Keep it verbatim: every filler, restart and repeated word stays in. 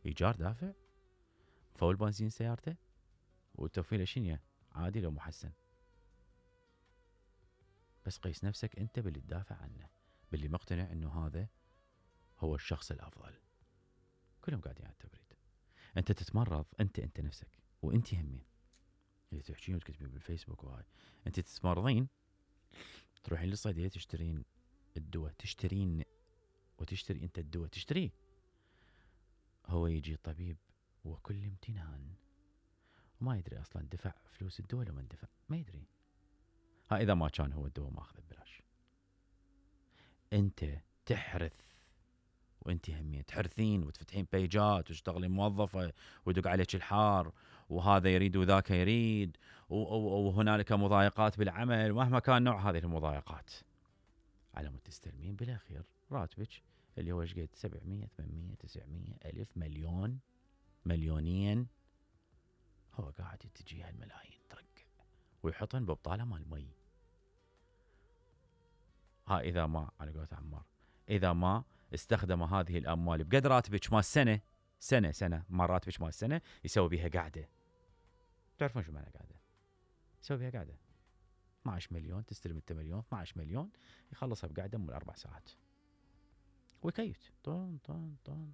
ايجار دافع، فول بنزين سيارته، والتوفيله شنو عادي لو محسن. بس قيس نفسك انت باللي تدافع عنه، باللي مقتنع انه هذا هو الشخص الافضل. كلهم قاعدين على التبريد. انت تتمرض، انت انت نفسك وانت همين اللي تحكين وتكتبين بالفيسبوك وهاي، انت تتمرضين تروحين للصيدليه تشترين الدواء، تشترين وتشتري انت الدواء تشتريه. هو يجي الطبيب وكل امتنان وما يدري اصلا دفع فلوس الدواء لو ما اندفع، ما يدري. ها اذا ما كان هو الدواء ماخذه ببلاش. انت تحرث وانت همين تحرثين وتفتحين بيجات وتشتغلين موظفه ويدق عليك الحار، وهذا يريد وذاك يريد، وهنالك مضايقات بالعمل، مهما كان نوع هذه المضايقات، على مود تستلمين بالاخير راتبك اللي هو ايش قد سبعمية ثمانمية تسعمية الف مليون مليونين. هو قاعد تجي هالملايين ترقع ويحطن ببطاله مال مي. ها اذا ما على قولة عمار، اذا ما استخدم هذه الاموال بقد راتبك مال السنه، سنه سنه ما راتبك مال السنه يسوي بها قاعده. تعرفون شو معنى قاعده؟ يسوي بها قاعده اثنا عشر مليون، تستلم انت مليون، اثنا عشر مليون يخلصها بقاعده من اربع ساعات ويكيت طن طن طن